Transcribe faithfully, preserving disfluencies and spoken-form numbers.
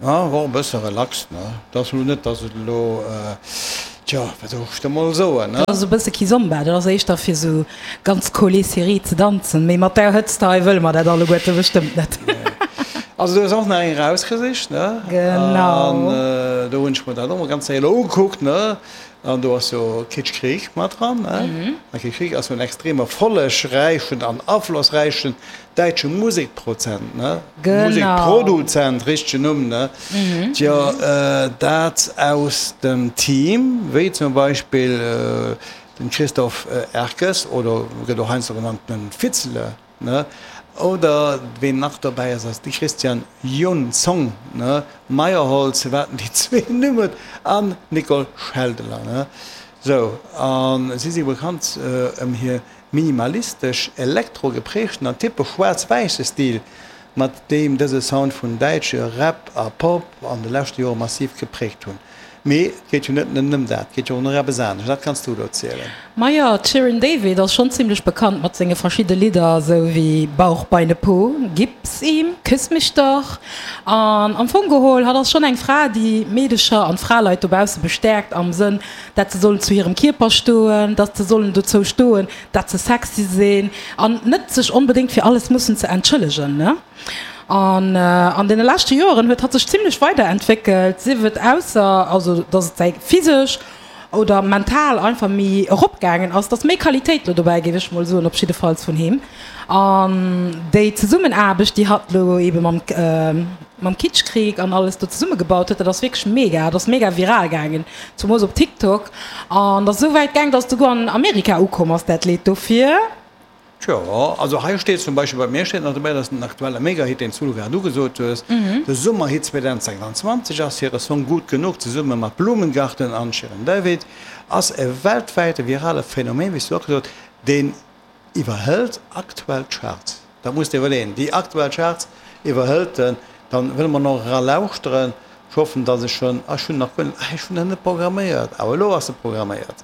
Ja, war e bësse relax, ne? Dat ass elo net, dass et elo, tja, wat soll ech da mol soen, ne? Dat ass e bësse Kizomba, dat ass éischter fir sou ganz collé serré ze danzen, mee mat där Hëtzt hei wëlle mer dat alleguerte bestëmmt net. Also du hues och nach eng erausgesicht, ne? Genau. An do hunn ech mer dat och mol ganz séier elo ugekuckt, ne? An do ass jo Kitschkrieg mat dran, ne? A Kitschkrieg ass jo en extrem erfollegräichen an aflossräichen däitsche Musekprozent, ne? Genau. Musekproduzent, richtegen Numm, ne? Tjo, dat aus dem Team, wéi zum Beispill den Christoph Erkes oder gëtt och heiansdo genannt den Fitzele, ne? Oder ween nach dobäi ass, ass de Christian Jonsson, ne? Meyerholz, wat déi zwee Numm huet, an d'Nicole Scheldeler, ne? Sou, a si si bekannt ëm hir minimalistesch, elektro-geprägten an typesch schwaarz-wäisse Stil, mat deem dëse Sound vun däitsche Rap a Pop an de leschte Jore massiv gepräägt hunn. Mee et geet jo net nëmmen ëm dat, et geet jo och nach eppes anescht. Dat kanns du elo zielen. Majo, d'Shirin David ass schonn zimmlech bekannt mat senge verschidde Lidder, esou wéi Bauch, Beine, Po, Gib's ihm, Küss mich doch. An am Fong geholl, hatt ass schonn eng Fra, déi Meedecher an Fraleit dobausse bestäerkt am Sënn, dat se sollen zu hirem Kierper stoen, datt se sollen dozou stoen, dat se sexy sinn an net sech onbedéngt fir alles mussen ze entschëllegen, ne? An an deene leschte Joeren huet hatt sech zimlech weiderentwéckelt, sief et ausser, also datt et säi physesch oder mental einfach méi eropgaangen ass, datt méi Qualitéit lo dobäi, géif ech mol soen, op jiddefalls vun him. An déi Zesummenaarbecht, déi hatt lo ebe mam mam Kitschkrieg an alles do zesummegebaut huet, dat ass wierklech mega, dat ass mega viral gaangen, zumols op TikTok. An dat ass esou wäit gaang, datt et souguer an Amerika ukomm ass, dat Lidd. Dofir. Tjo, also hei steet zum Beispill, bei mir steet nach dobäi, dass den aktuelle Megahit, deen s du grad ugesot hues, de Summerhit zweitausendsechsundzwanzig ass, hire Song Gut Genug zesumme mat Blumengarten an Shirin David ass e weltwäite virale Phänomen, wéi s du och gesot, deen iwwerhëlt aktuell d'Charts. Dat muss de iwwerleeën, déi aktuell Charts iwwerhëlt en. Dann wëlle mer nach era lauschteren. Ech hoffen, dass ech schon, ah ech hunn nach guer net, ah ech hunn en net programméiert, awer elo ass e programméiert.